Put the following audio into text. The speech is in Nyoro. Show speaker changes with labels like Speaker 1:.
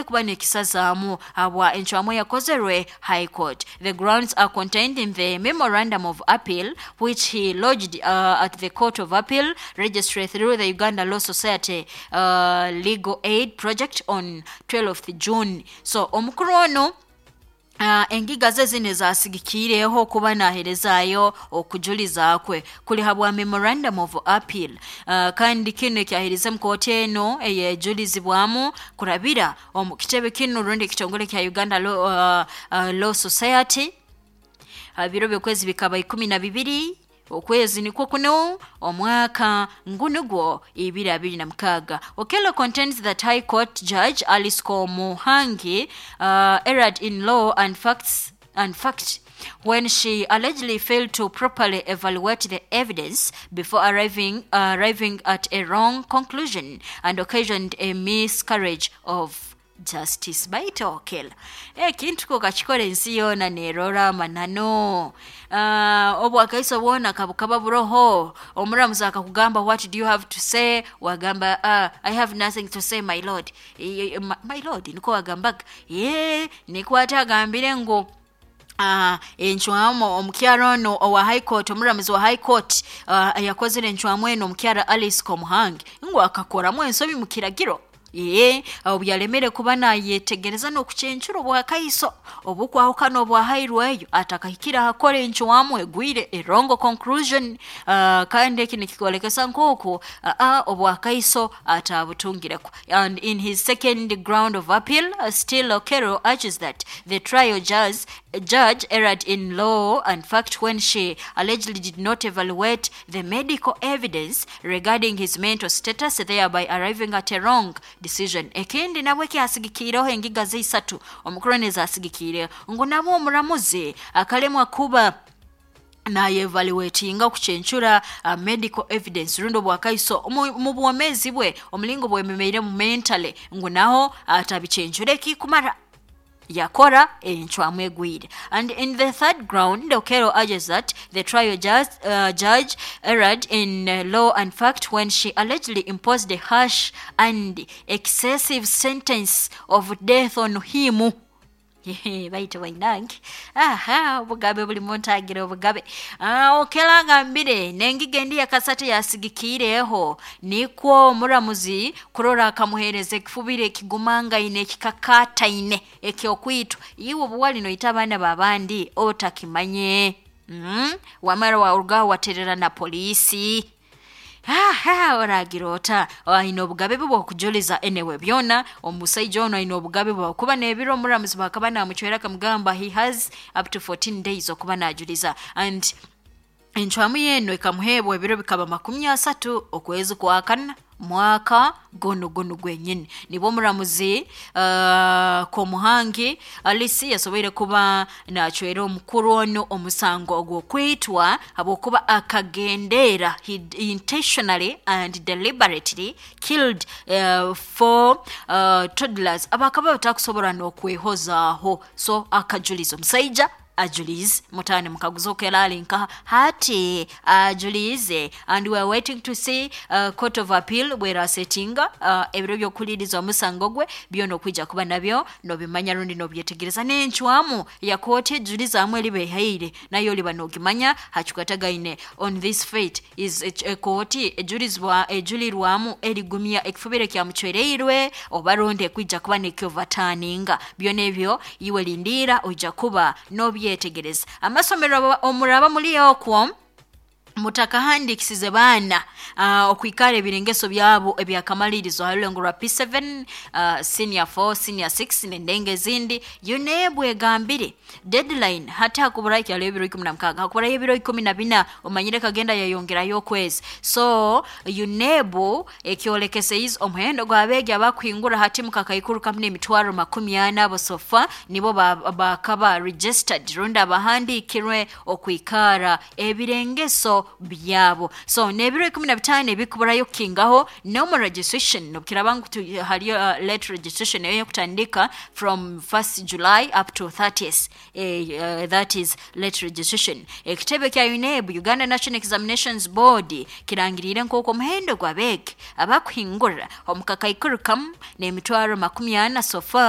Speaker 1: Ekisobole kuba nekisazaamu habwa encwamu eyakozerwe High Court. The grounds are contained in the memorandum of appeal which he lodged at the Court of Appeal Registry through the Uganda Law Society Legal Aid Project on 12th June. So omukuru ono, engiga ze zino ezasigikiireho kuba naherezaayo okujuliza kwe kuli habwa memorandum of appeal, kandi kinu ekyaherize mu kooti eno eyejulizibwamu kurabira omu kitebe kinu rundi ekitongole kya Uganda Law Society. Biro by'okwezi bikaba 12 okwezi nikwo kuno omwaka ngunugwo 2026. Okello contends that High Court Judge Alice Komuhangi erred in law and facts and fact when she allegedly failed to properly evaluate the evidence before arriving at a wrong conclusion and occasioned a miscarriage of justice. Baita Okello, ekintu ko kakikora ensi yoona nerora amanano. Obwakaiso bwona kabukaba buroho, omuramuzi akakugamba, "What do you have to say?" Wagamba, "I have nothing to say, my lord." My lord, niko wagambaga. Ye nikwate agambire ngu encwamu omukyara ono owa High Court, omuramuzi wa High Court yakozere encwamu eno, omukyara Alice Komuhangi, ngu akakoramu ensobi mu kiragiro, ye obu yalemere kuba nayetegereza n'okucencura obwakaiso obukwahukana obwahairweyo atakahikire ahakora encwamu egwire, a wrong conclusion. Kandi eki nikikolekesa nk'oku obwakaiso atabutungireko. And in his second ground of appeal, still Okello urges that the trial judge erred in law and fact when she allegedly did not evaluate the medical evidence regarding his mental status, thereby arriving at a wrong decision. Ekindi nabwe kyasigikiireho engiga zeisatu omukuru nezasigikiireho ngu nabwo omuramuzi akalemwa kuba nayevaluatinga okucencura medical evidence rundi obwakaiso mu bwomezi bwe omulingo bwememeiremu mentally, ngu naho atabicencura ekikumara yakora encwamu egwire. And in the third ground, Okello urges that the trial judge erred in law and fact when she allegedly imposed a harsh and excessive sentence of death on him. Baita bainange, aha, obugabe buli muntagira obugabe. Okello agambire nengiga endi yakasate yasigikiireho nikwo omuramuzi kurora akamuhereza ekifubiro ekigumangaine, ekikakataine ekyokwitwa. Iwe obuwali noita abaana babandi otakimanye, Wamara warugaho waterera na poliisi, aha, oragira ota? Aine obugabe bwe bwokujuliza. Enewe byona omusaija ono aine obugabe bwe kuba n'ebiro omuramuzi bakaba namucwera akamugamba he has up to 14 days okuba najuliza, and encwamu yeno ekamuheebwa ebiro bikaba 30 okwezi kwa kana mwaka gono gono gwenyini. Nibwo omuramuzi Komuhangi Alice yasoboire kuba nacwera omukuru ono omusango ogw'okwitwa habwokuba akagendeera, he intentionally and deliberately killed four toddlers abakaba batakusobora n'okwehozaaho. So akajuliza, omusaija ajulize mutani mukaguza Okello ali nkaha hati ajulize, and we are waiting to see Court of Appeal bwerasetinga ebiro by'okuhuliriza omusango gwe. Byona okwija kuba nabyo nobimanya rundi nobyetegereza n'encwamu ya kooti ejulizaamu eriba ehaire nayo oliba nogimanya hakikwatagaine on this fate is ekooti ejulizwa ejulirwamu erigumya ekifubiro ekyamucwereirwe oba rundi ekwija kuba nekyovataninga. Byona ebyo iwe lindiira, oija kuba nobyetegereza. Amasomero omuraba muli okwo mutakahandikisize baana okwikara ebirengeso byabo ebyakamalirizo harulengo rwa P7, senior 4, senior 6 nendenga ezindi, UNEB egambire deadline hati hakuburayo kyalo ebiro 16, hakuburayo ebiro 14. Omanyire kagenda yayongerayo okwezi. So UNEB ekyolekeseize omuhendo gw'abeegi abakuhingura hati mukakaikuru kamu n'emitwaro 40, abo so far nibo bakaba registered rundi abahandiikirwe okwikara ebirengeso byabo. So n'ebiro 15 ebikuburayo kukingaho no registration nobukiraba ngu haliyo late registration eyo kutandika from 1st July up to 30th, that is late registration. Ekitebe kya UNEB, Uganda National Examinations Board, kirangirire nk'oku omuhendo gw'abeegi abakuhingura omu kakaikuru kamu n'emitwaro 40 so far.